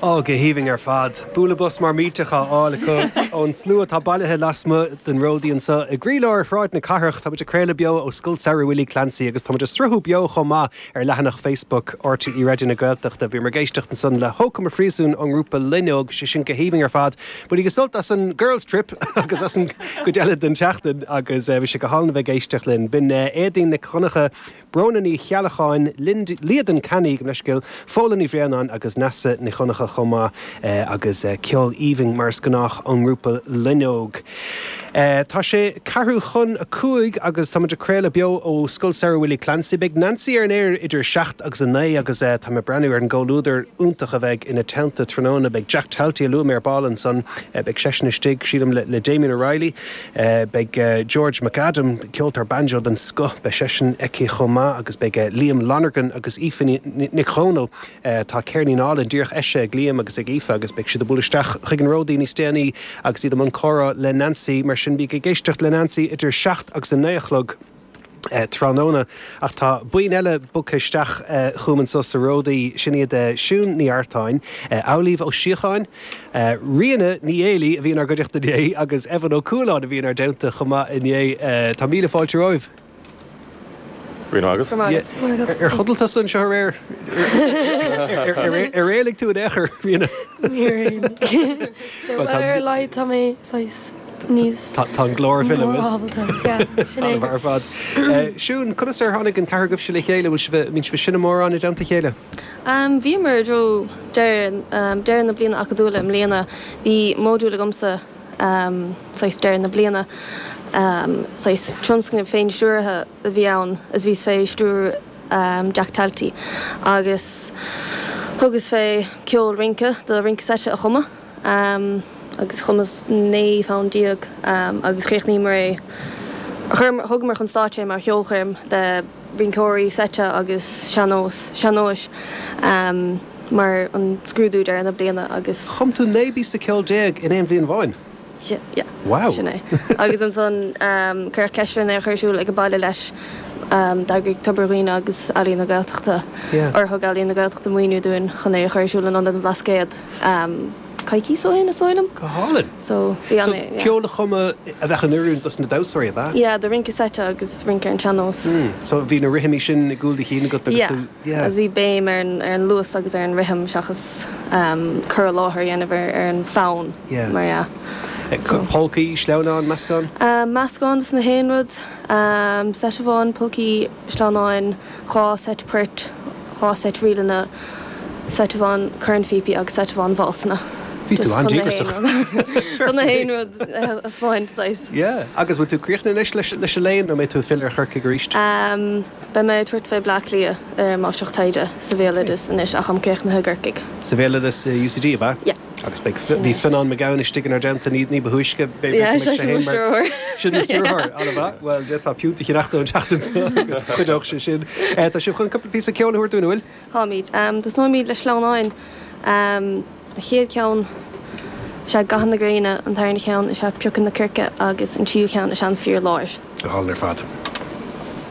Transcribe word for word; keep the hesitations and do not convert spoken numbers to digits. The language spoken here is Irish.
Ó go haoibhinn ar fad. Bualadh bos mar millteach á fháil acu ón slua atá bailithe lasmuigh den Ródaí anseo i gcroílár Shráid na Cathrach tá muid ag craoladh beo ó Scoil Samhraidh Willie Clancy agus tá muid ag sruthú beo chomh maith ar leathanach Facebook RTÉ Raidió na Gaeltachta. Bhí muid ag éisteacht ansan le Hócam a Phríosúin ón ngrúpa Loinneog sé sin go haoibhinn ar fad. Bainigí sult as an Girls Trip agus as an gcuid eile den tseachtain agus bhí sé go hálainn a bheith ag éisteacht linn. B'in Éadaoin Nic Dhonncha, Bróna Ní Cheallacháin, Líadan Canny go leiscil, Fóla Ní Bhréanáin agus Nasa Ní Choncha chomh maith agus ceol aoibhinn mar is gnách ón ngrúpa Loinneog. Tá sé ceathrú chun a cúig agus tá muid ag craoladh beo ó Scoil Samhraidh Willie Clancy. Beidh Nancy ar an aer idir seacht agus a naoi agus tá mé ag breathnú ar an gcomhluadar iontach a bheidh ina teannta tráthnóna. Beidh Jack Talty a luaigh mé ar ball ansan, beidh seisean istigh sílim le, le Damien O'Reilly, beidh George McAdam, ceoltóir banjo den scoth, beidh seisean aici chomh maith agus beidh Liam Lonergan agus Aoife Nic Dhónaill tá ceirnín álainn díreach eisithe ag Liam agus ag Aoife agus beidh siad ag bualadh isteach chuig an Ródaí níos déanaí agus iad i mbun comhrá le Nancy mar sin bí ag éisteacht le Nancy idir seacht agus a naoi a chlog. tráthnóna ach tá buíon eile bogtha isteach chugam anseo sa Ródaí sin iad Siún Ní Artáin, Amhlaoibh Ó Síocháin, Ríona Ní Éilí a bhí inár gcuideachta inné agus Evan Ó Cualáin a bhí inár dteannta chomh maith inné. Tá míle fáilte romhaibh. Go maith agat. Ar chodail tusa anseo aréir? Ar éalaigh tú in aon chor, Ríona? Níor éalaigh. Ar a laghad tá mé saghas níos Tá an glór ag filleadh. ábalta. Yeah, sin é. Ar fad. Siún, conas ar tháinig an ceathrar agaibhse le chéile bhfuil sibh mbíonn sibh ag seinm mórán i dteannta a chéile? Um, Bhíomar i dtreo deireadh um, deireadh na bliana acadúla i mbliana. Bhí modúl agamsa um, saghas deireadh na bliana. Um, saghas tionscnamh féin-stiúrtha a bhí ann is bhíos fé stiúir um, Jack Talty agus thugas fé ceol rince do rince seite a chumadh um, agus chumas naoi bhfonn déag um, agus chríochnaíomar é thugamar chun stáitse mar cheolchoirm de rinceoirí seite agus sean-nós sean-nóis um, mar an scrúdú deireadh na bliana agus Chum tú naoi bpíosa ceoil déag in aon bhliain amháin. yeah, Wow. sin é. agus ansan um, cuireadh ceist orainn é a chur ar siúl ag an baile leis um, d'eagraigh Tobar Dhuibhne agus Ealaín na Gaeltachta Yeah. or thug Ealaín na Gaeltachta maoiniú dúinn chun é a chur ar siúl in Ionad an Bhlascaoid um, coicís ó shin is dóigh liom. Go hálainn. So bhí So an yeah. ceol a chumadh a bheadh in oiriúint dos na damhsóirí ab ea? Yeah, do rince seite agus rince ar an sean-nós. Mm. So bhí na rithimí sin i gcúl do chinn agat agus Yeah. tú yeah. Agus bhí béim ar an, ar an luas agus ar an rithim seachas um, cur i láthair a dhéanamh ar, ar an bhfonn Yeah. mar yeah. So. Polcaí, sleamhnáin, meascán? Um, meascán de na haon rud, um, seit amháin polcaí sleamhnáin, dhá seit poirt, dhá seit ríleanna, seit amháin cornphíopaí agus seit amháin válsanna. Bhí tú an-díograiseach. Chun na haon rud a spáint saghas. Yeah. Agus bhfuil tú críochnaithe anois leis leis an léann nó mbeidh tú ag filleadh ar Chorcaigh arís? Um, Beidh mé ag tabhairt fé Bleá Cliath ar máistreacht taighde sa bhéaloideas anois ach táim críochnaithe i gCorcaigh. Sa bhéaloideas UCD ab ea? Yeah. Agus beidh bhí Fionnán Mac Gabhann istigh inár dteannta ní ní ba thúisce Yeah, sé sin mo stiúrthóir. Sin an stiúrthóir an-mhaith. Well d'fhéadfá piúnt a cheannach an tseachtain seo agus chuideodh sé sin. Eh, Tá sibh chun cúpla píosa ceoil a thabhairt dúinn bhfuil? Táimid. Um, Tosnóimid le sleamhnáin. Um, a chéad cheann is ea Gatha na Gréine an tarna cheann is ea Piocadh na Circe agus an tríú ceann is ea an Fear Láir. Go hálainn ar fad.